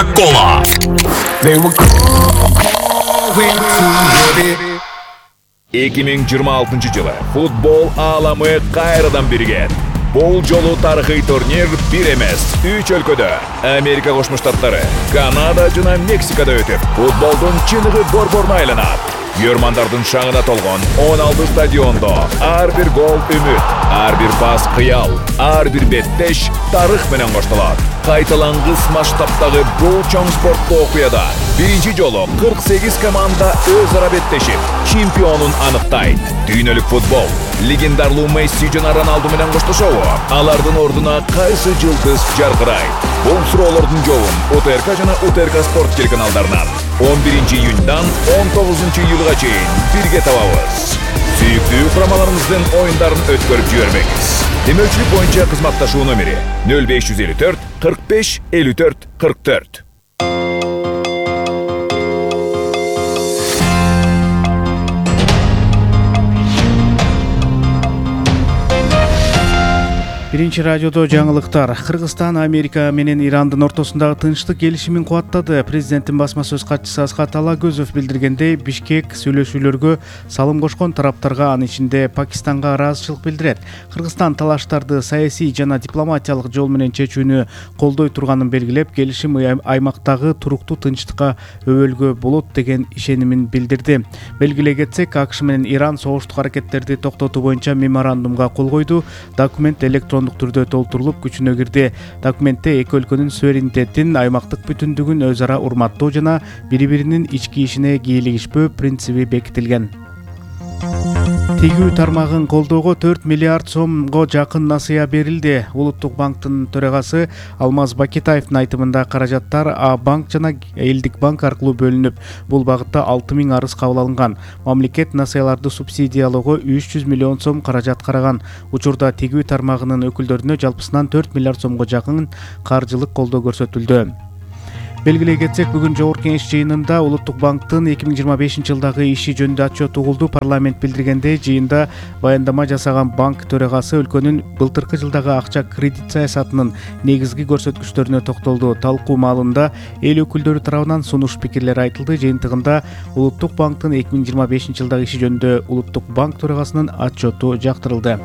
Кола. 2026 жылы футбол ааламы кайрадан биригет. Бул жолу тарыхый турнир бир эмес, 3 өлкөдө Америка Кошмо Штаттары, Канада жана Мексикада өтүп, футболдун чыныгы борборуна айланат. Көрмандардын шаңына толгон 16 стадиондо ар бир гол үмүт, ар бир пас кыял, ар бир беттеш тарых менен коштолот. Кайталангыс масштабтагы бул чоң спорттуу окуяда биринчи жолу 48 команда өз ара беттешип, чемпионун аныктайт. Дүйнөлүк футбол легендарлуу Месси жана Роналду менен коштошобу? Алардын ордуна кайсы жылдыз жаркырайт? Бул суроолордун жообун УТРК жана УТРК спорт телеканалдарынан 11 июньдан 19 июлга чейин бирге табабыз. Сүйүктүү курамаларыңыздын оюндарын өткөрүп жибербеңиз. Демөөлчүлүк боюнча кызматташуу номери 0554 45 54 44. Биринчи радиодо жаңылыктар. Кыргызстан Америка менен Ирандын ортосундагы тынчтык келишимин кубаттады. Президенттин басма сөз катчысы Асхат Алагөзов билдиргендей, Бишкек сүйлөшүүлөргө салым кошкон тараптарга, анын ичинде Пакистанга ыраазычылык билдирет. Кыргызстан талаштарды саясий жана дипломатиялык жол менен чечүүнү колдой турганын белгилеп, келишим аймактагы туруктуу тынчтыкка өбөлгө болот деген ишенимин билдирди. Белгилей кетсек, АКШ менен Иран согуштук аракеттерди токтотуу боюнча меморандумга кол койду. Документ электрондук түрдө толтурулуп күчүнө кирди. Документте эки өлкөнүн суверенитетин, аймактык бүтүндүгүн өз ара урматтоо жана бири-биринин ички ишине кийлигишпөө принциби бекитилген. Тигүү тармагын колдоого 4 миллиард сомго жакын насыя берилди. Улуттук банктын төрагасы Алмаз Бакетаевдин айтымында каражаттар банк жана элдик банк аркылуу бөлүнүп, бул багытта 6000 арыз кабыл алынган. Мамлекет насыяларды субсидиялоого 300 миллион сом каражат караган. Учурда тигүү тармагынын өкүлдөрүнө жалпысынан 4 миллиард сомго жакын каржылык колдоо көрсөтүлдү. Белгилей кетсек, бүгүн Жогорку Кеңеш жыйынында Улуттук банктын 2025 жылдагы иши жөнүндө отчет угулду. Парламент билдиргендей, жыйында баяндама жасаган банк төрагасы өлкөнүн былтыркы жылдагы акча кредит саясатынын негизги көрсөткүчтөрүнө токтолду. Талкуу маалында эл өкүлдөрү тарабынан сунуш пикирлер айтылды. Жыйынтыгында Улуттук банктын 2025 жылдагы иши жөнүндө Улуттук банк төрагасынын отчету жактырылды.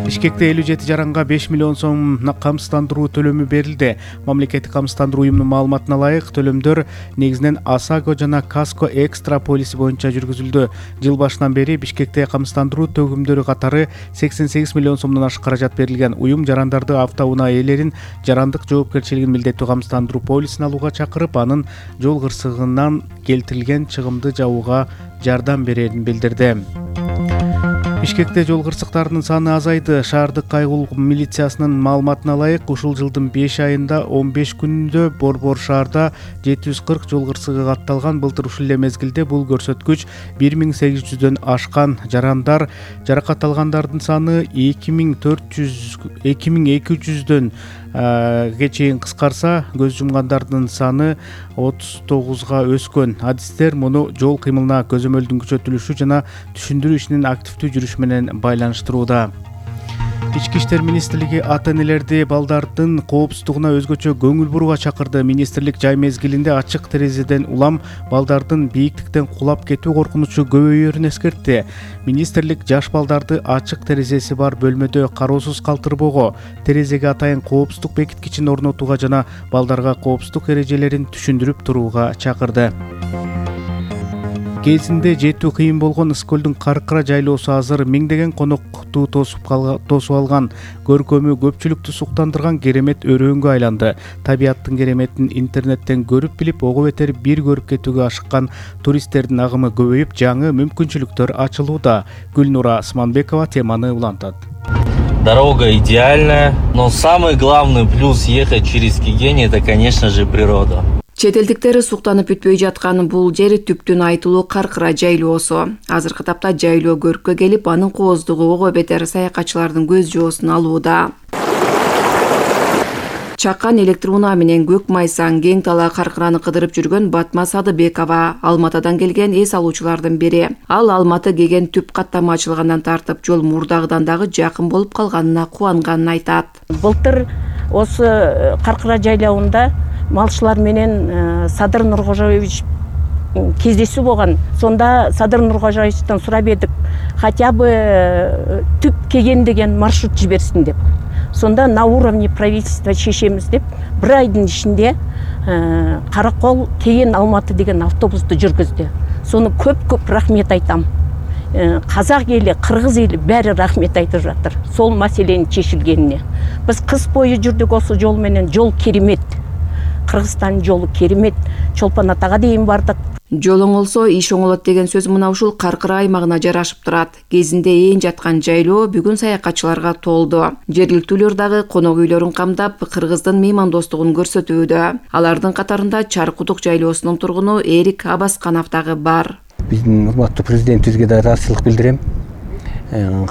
Бишкекте 57 жаранга 5 миллион сом камсыздандыруу төлөмү берилди. Мамлекеттик камсыздандыруу уюмунун маалыматына ылайык, төлөмдөр негизинен АСАГО жана КАСКО экстра полиси боюнча жүргүзүлдү. Жыл башынан бери Бишкекте камсыздандыруу төгүмдөрү катары 88 миллион сомдон ашык каражат берилген. Уюм жарандарды, автоунаа ээлерин жарандык жоопкерчилигин милдеттүү камсыздандыруу полисин алууга чакырып, анын жол кырсыгынан келтирилген чыгымды жабууга жардам берерин билдирди. Бишкекте жол кырсыктарынын саны азайды. Шаардык кайгылуу милициясынын маалыматына ылайык, ушул жылдын 5 айында 15 күндө Борбор шаарда 740 жол кырсыгы катталган. Былтыр ушул эле мезгилде бул көрсөткүч 1800дөн ашкан. Жаракат алгандардын саны 2200дөн чейин кыскарса, көз жумгандардын саны 39га өскөн. Адистер муну жол кыймылына көзөмөлдүн күчөтүлүшү жана түшүндүрүү ишинин активдүү жүрүшү менен байланыштырууда. Ички иштер министрлиги ата-энелерди балдардын коопсуздугуна өзгөчө көңүл бурууга чакырды. Министрлик жай мезгилинде ачык терезеден улам балдардын бийиктиктен кулап кетүү коркунучу көбөйөрүн эскертти. Министрлик жаш балдарды ачык терезеси бар бөлмөдө кароосуз калтырбоого, терезеге атайын коопсуздук бекиткичин орнотууга жана балдарга коопсуздук эрежелерин түшүндүрүп турууга чакырды. Кезинде жетүү кыйын болгон Ысык-көлдүн Каркыра жайлоосу азыр миңдеген конокту тосуп алган. Көркөмү көпчүлүктү суктандырган керемет өрөөнгө айланды. Табияттын кереметин интернеттен көрүп билип, ого бетер бир көрүп кетүүгө ашыккан туристтердин агымы көбөйүп, жаңы мүмкүнчүлүктөр ачылууда. Гүлнура Османбекова теманы улантат. Дорога идеальная, но самый главный плюс ехать через Кигень — это, конечно же, природа. Чет элдиктер суктанып бүтпөй жаткан бул жер түптүн айтылуу Каркыра жайлоосу. Азыркы тапта жайлоо көрккө келип, анын кооздугу ого бетер саякатчылардын көз жоосун алууда. Чакан электроунаа менен көк майсан кең талаа Каркыраны кыдырып жүргөн Батма Садыбекова Алматадан келген эс алуучулардын бири. Ал Алматы кеген түп каттама ачылгандан тартып жол мурдагыдан дагы жакын болуп калганына кубанганын айтат. Былтыр осы Каркыра жайлауында малчылар менен Садыр Нуркожоевич кездесүү болгон. Сонда Садыр Нуркожоевичтен сурап едик, хотя бы түп кеген деген маршрут жиберсин деп. Сонда на уровне правительства чечемиз деп 1 айдын ичинде Каракол Кеген Алматы деген автобусту жүргүздү. Сону көп рахмет айтам. Казак эли, кыргыз эли баары рахмет айтып жатыр. Сол маселенин чечилгенине. Биз кыз бою жүрдүк осы жол менен. Жол керемет. Кыргызстандын жолу керемет. Чолпон Атага дейин бардык. Жол оңолсо иш оңолот деген сөз мына ушул Каркыра аймагына жарашып турат. Кезинде ээн жаткан жайлоо бүгүн саякатчыларга толду. Жергиликтүүлөр дагы конок үйлөрүн камдап, кыргыздын меймандостугун көрсөтүүдө. Алардын катарында Чаркудук жайлоосунун тургуну Эрик Абасканов дагы бар. Биздин урматтуу президентибизге да ыраазычылык билдирем.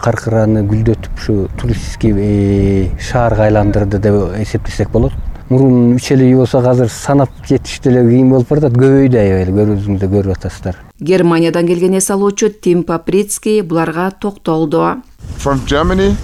Каркыраны гүлдөтүп ушу туристский шаарга айландырды деп эсептесек болот. Мурун 3 үй болсо азыр санап жетиш деле кийин болуп барат, көбөйдү аябай, көрүүбүздө көрүп атасыздар. Германиядан келген эс алуучу Тим Паприцкий буларга токтолду. From Germany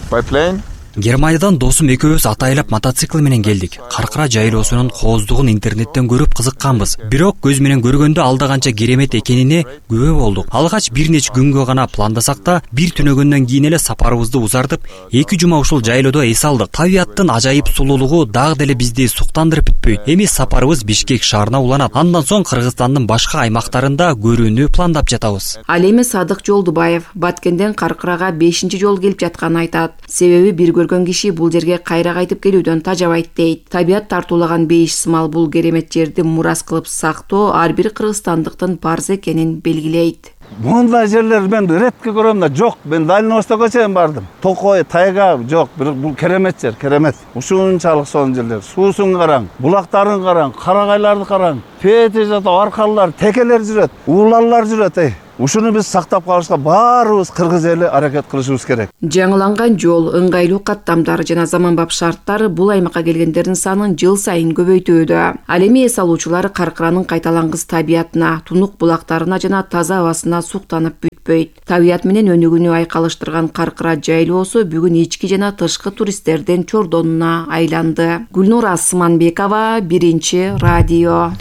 by plane. Германиядан досум экөөбүз атайлап мотоцикл менен келдик. Каркыра жайлоосунун кооздугун интернеттен көрүп кызыкканбыз. Бирок көз менен көргөндө алда канча керемет экенине күбө болдук. Алгач бир нече күнгө гана пландасак да, бир түнөгөндөн кийин эле сапарыбызды узартып, 2 жума ушул жайлоодо эс алдык. Табиаттын ажайып сулуулугу дагы деле бизди суктандырып бүтпөйт. Эми сапарыбыз Бишкек шаарына уланат. Андан соң Кыргызстандын башка аймактарында көрүүнү пландап жатабыз. Ал эми Садык Жолдубаев Баткенден Каркырага 5-чи жол келип жатканын айтат. Себеби бир көргөн киши бул жерге кайра кайтып келүүдөн тажабайт дейт. Табият тартуулаган бейиш сымал бул керемет жерди мурас кылып сактоо ар бир кыргызстандыктын парзы экенин белгилейт. Мындай жерлер мен редко көрөм да, жок. Мен Дальний Востокко чейин бардым. Токой, тайга жок, бирок бул керемет жер, керемет. Ушунчалык сонун жерлер. Суусун караң, булактарын караң, карагайларды караң. Пети жата аркалар, текелер жүрөт, уулалар жүрөт. Ушуну биз сактап калышка баарыбыз кыргыз эли аракет кылышыбыз керек. Жаңыланган жол, ыңгайлуу каттамдар жана заманбап шарттар бул аймакка келгендердин санын жыл сайын көбөйтүүдө. Ал эми эс алуучулар Каркыранын кайталангыс табиятына, тунук булактарына жана таза абасына суктанып бүтпөйт. Табият менен өнүгүүнү айкалыштырган Каркыра жайлоосу бүгүн ички жана тышкы туристтердин чордонуна айланды. Гүлнур Асманбекова, 1-радио.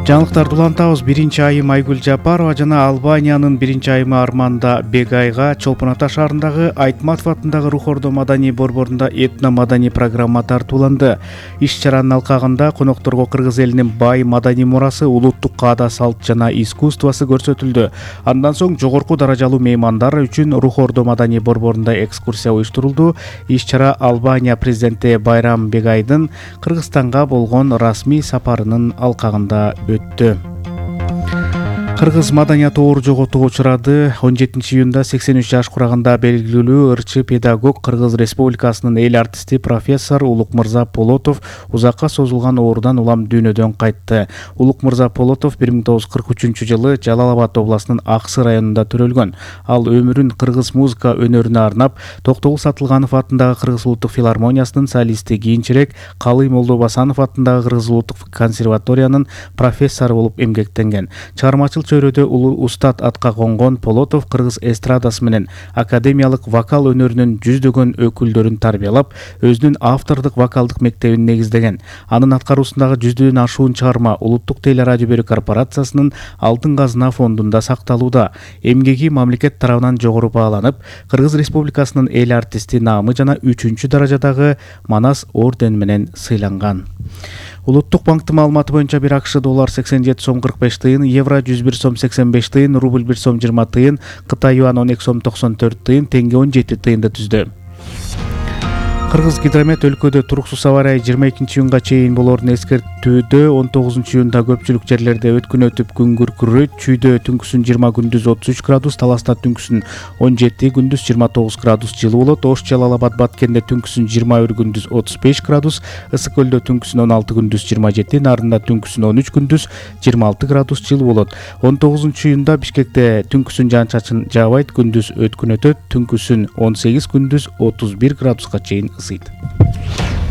Жаңылыктарды улантабыз. 1-айым Айгүл Жапарова жана Албаниянын 1-айымы Арманда Бегайга Чолпон Ата шаарындагы Айтматов атындагы Рух Ордо маданий борборунда этно-маданий программа тартууланды. Иш-чаранын алкагында конокторго кыргыз элинин бай маданий мурасы, улуттук каада салт жана искусствосы көрсөтүлдү. Андан соң жогорку даражалуу меймандар үчүн Рух Ордо маданий борборунда экскурсия уюштурулду. Иш-чара Албания президенти Байрам Бегайдын Кыргызстанга болгон расмий сапарынын алкагында өттү. Кыргыз маданияты оор жоготууга учурады. 17-июнда 83 жаш кураганда белгилүү ырчы педагог Кыргыз Республикасынын эл артисти профессор Улукмырза Полотов узакка созулган оорудан улам дүйнөдөн кайтты. Улукмырза Полотов 1943-жылы Жалал-Абад областынын Аксы районунда төрөлгөн. Ал өмүрүн кыргыз музыка өнөрүнө арнап, Токтогул Сатылганов атындагы Кыргыз улуттук филармониясынын солисти, кийинчерээк Калый Молдобасанов атындагы Кыргыз улуттук консерваториянын профессору болуп эмгектенген. Чыгармачыл чөйрөдө улуу устат атка конгон Полотов кыргыз эстрадасы менен академиялык вокал өнөрүнүн жүздөгөн өкүлдөрүн тарбиялап, өзүнүн автордук вокалдык мектебин негиздеген. Анын аткаруусундагы жүздөн ашуун чыгарма Улуттук телерадио берүү корпорациясынын Алтын казына фондунда сакталууда. Эмгеги мамлекет тарабынан жогору бааланып, Кыргыз Республикасынын эл артисти наамы жана 3-чү даражадагы Манас ордени менен сыйланган. Улуттук банктын маалыматы боюнча бир АКШ доллар 87 сом 45 тыйын, евро 101 сом 85 тыйын, рубль 1 сом 20 тыйын, Кытай юан 12 сом 94 тыйын, теңге 17 тыйынды түздү. Кыргыз гидромет өлкөдө туруксуз аба ырайы 22-июнга чейин болорун эскертүүдө. 19-июнда көпчүлүк жерлерде өткүн өтүп күн күркүрөйт. Чүйдө түнкүсүн 20, күндүз 33 градус, Таласта түнкүсүн 17, күндүз 29 градус жылуу болот. Ош, Жалал-Абад, Баткенде түнкүсүн 21, күндүз 35 градус, Ысык көлдө түнкүсүн 16, күндүз 27, Нарында түнкүсүн 13, күндүз 26 градус жылуу болот. 19-июнда Бишкекте түнкүсүн жаан-чачын жаабайт, күндүз өткүн өтөт, түнкүсүн 18, күндүз 31 градуска чейин ысыйт.